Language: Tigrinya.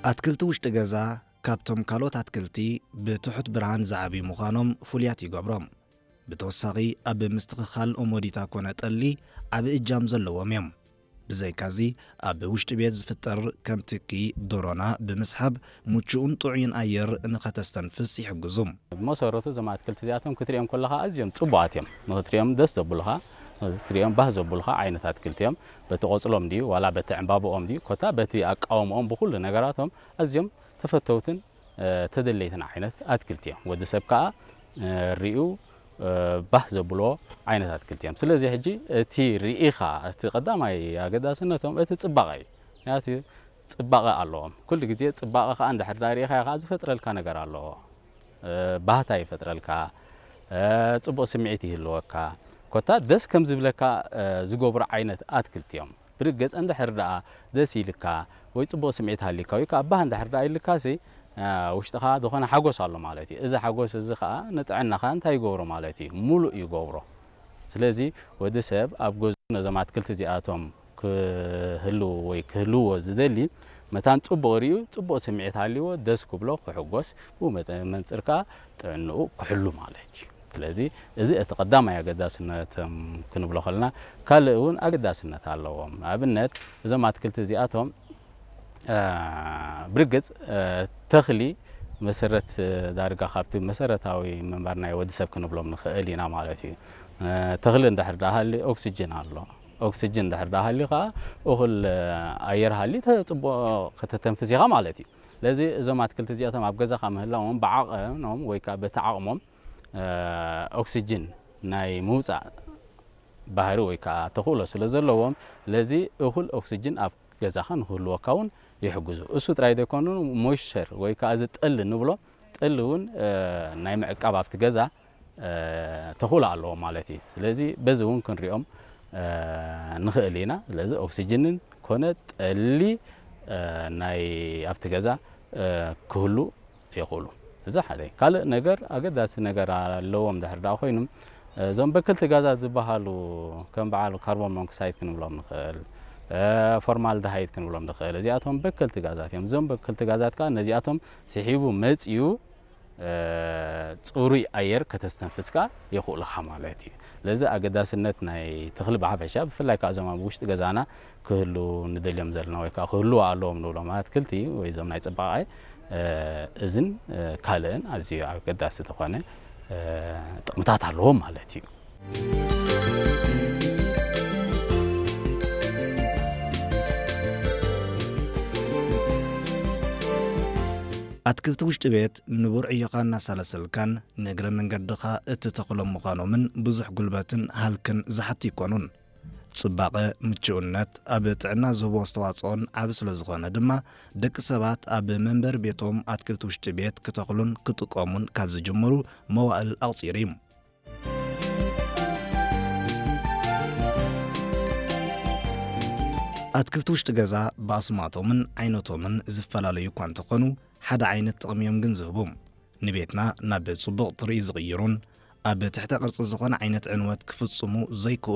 ኣትክልቲ ውሽጢ ገዛ ካብቶም ካልኦት ኣትክልቲ ብትሑት ብርሃን ዝዓብዩ ምዃኖም ፍሉያት ይገብሮም። ብተወሳኺ ኣብ ምስትኽኻል ኦሞዲታ ኮነ ጠሊ ዓቢ እጃም ዘለዎም እዮም። ብዘይካዚ ኣብ ውሽጢ ቤት ዝፍጠር ከም ትኪ ዶሮና ብምስሓብ ምቹእን ጥዑይን ኣየር ንኸተስተንፍስ ይሕግዙ። ብመሰረቱ እዞም ኣትክልቲ እዚኣቶም ክትሪኦም ከለኻ ኣዝዮም ጽቡቓት እዮም። ንኽትሪኦም ደስ ዘብሉኻ፣ ንኽትሪኦም ባህ ዘብሉኻ ዓይነት ኣትክልቲ እዮም። በቲ ቆጽሎም ድዩ ዋላ በቲ ዕምባብኦም ድዩ ኮታ በቲ ኣቃውምኦም ብኹሉ ነገራቶም ኣዝዮም ተፈተውትን ተደለይትን ዓይነት ኣትክልቲ እዮም። ወዲ ሰብ ከኣ ሪኡ ባህ ዘብሎ ዓይነት ኣትክልቲ እዮም። ስለዚ ሕጂ እቲ ርኢኻ እቲ ቀዳማይ ኣገዳስነቶም እቲ ጽባቐ እዩ። ምክንያቱ ጽባቐ ኣለዎም። ኩሉ ግዜ ጽባቐ ከኣ እንድሕር ዳ ርኢኻ ከኣ ዝፈጥረልካ ነገር ኣለዎ። ባህታ ይፈጥረልካ፣ ጽቡቕ ስምዒት ይህልወካ፣ ኮታ ደስ ከም ዝብለካ ዝገብሩ ዓይነት ኣትክልቲ እዮም። ብርግጽ እንድሕር ደኣ ደስ ኢልካ ወይ ጽቡቕ ስምዒት ሃሊካ ወይ ከኣ ባህ እንድሕር ደኣ ኢልካሲ ውሽጥኻ ዝኾነ ሓጎስ ኣሎ ማለት እዩ። እዚ ሓጎስ እዚ ከኣ ንጥዕናኻ እንታይ ይገብሮ ማለት እዩ? ሙሉእ ይገብሮ። ስለዚ ወዲ ሰብ ኣብ ገዝኡ ነዞም ኣትክልቲ እዚኣቶም ክህልው ወይ ክህልዎ ዝደሊ መታን ጽቡቕ ርእዩ ጽቡቕ ስምዒት ሃልይዎ ደስ ክብሎ ክሕጎስ ብኡ መጠ- መንጽር ከኣ ጥዕንኡ ክሕሉ ማለት እዩ። ስለዚ እዚ እቲ ቀዳማይ ኣገዳስነቶም ክንብሎ ከለና ካልእ እውን ኣገዳስነት ኣለዎም። ንኣብነት እዞም ኣትክልቲ እዚኣቶም ብርግጽ ተኽሊ መሰረት ዳርጋ ካብቲ መሰረታዊ ምንባር ናይ ወዲ ሰብ ክንብሎም ንኽእል ኢና ማለት እዩ። ተኽሊ እንድሕር ደኣ ሃልዩ ኦክስጅን ኣሎ። ኦክስጅን እንድሕር ደኣ ሃልዩ ከኣ እኹል ኣየር ሃልዩ ጽቡቕ ከተተንፍስ ኢኻ ማለት እዩ። ስለዚ እዞም ኣትክልቲ እዚኣቶም ኣብ ገዛኻ ምህላዎም ብዓቐኖም ወይ ከኣ በቲ ዓቕሞም ኦክስጅን ናይ ምውጻእ ባህሪ ወይ ከኣ ተኽእሎ ስለ ዘለዎም ስለዚ እኹል ኦክስጅን ኣብ ገዛኻ ንክህልወካ እውን ይሕግዙ። እሱ ጥራይ ዘይኮኑ ሞይስቸር ወይ ከኣ እዚ ጠሊ ንብሎ ጠሊ እውን ናይ ምዕቃብ ኣብቲ ገዛ ተኽእሎ ኣለዎ ማለት እዩ። ስለዚ በዚ እውን ክንሪኦም ንኽእል ኢና። ስለዚ ኦክስጅንን ኮነ ጠሊ ናይ ኣብቲ ገዛ ክህሉ ይኽእሉ። እዚ ሓደ ካልእ ነገር ኣገዳሲ ነገር ኣለዎም ድሕር ደኣ ኮይኑ እዞም በክልቲ ጋዛት ዝበሃሉ ከም በዓል ካርቦን ሞኖክሳይድ ክንብሎም ንኽእል፣ ፎርማልደሃይድ ክንብሎም ንኽእል። እዚኣቶም በክልቲ ጋዛት እዮም። እዞም በክልቲ ጋዛት ከዓ ነዚኣቶም ስሒቡ መፅዩ ፅሩይ ኣየር ከተስተንፍስካ የኽእሉኻ ማለት እዩ። ስለዚ ኣገዳስነት ናይ ተኽሊ ብሓፈሻ ብፍላይ ከዓ እዞም ኣብ ውሽጢ ገዛና ክህሉ ንደልዮም ዘለና ወይ ከዓ ክህልዉ ኣለዎም ንብሎም ኣትክልቲ ወይ እዞም ናይ ፅባቐ እዝን ካልእን ኣዝዩ ኣገዳሲ ዝኾነ ጥቕምታት ኣለዎም ማለት እዩ። ኣትክልቲ ውሽጢ ቤት ንቡር ዕዮኻ እናሳለሰልካን ንእግረ መንገድኻ እትተኽሎም ምዃኖምን ብዙሕ ጉልበትን ሃልክን ዝሓቱ ኣይኮኑን። ጽባቐ፣ ምቹእነት ኣብ ጥዕና ዝህቦ ኣስተዋጽኦን ዓቢ ስለ ዝኾነ ድማ ደቂ ሰባት ኣብ መንበሪ ቤቶም ኣትክልቲ ውሽጢ ቤት ክተኽሉን ክጥቀሙን ካብ ዝጅምሩ መዋእል ኣቑጺሩ እዩ። ኣትክልቲ ውሽጢ ገዛ ብኣስማቶምን ዓይነቶምን ዝፈላለዩ እኳ እንተኾኑ ሓደ ዓይነት ጥቕሚ እዮም ግን ዝህቡ። ንቤትና ናብ ጽቡቕ ትርኢት ዝቕይሩን ኣብ ትሕተ ቅርጺ ዝኾነ ዓይነት ዕንወት ክፍጽሙ ዘይክእሉ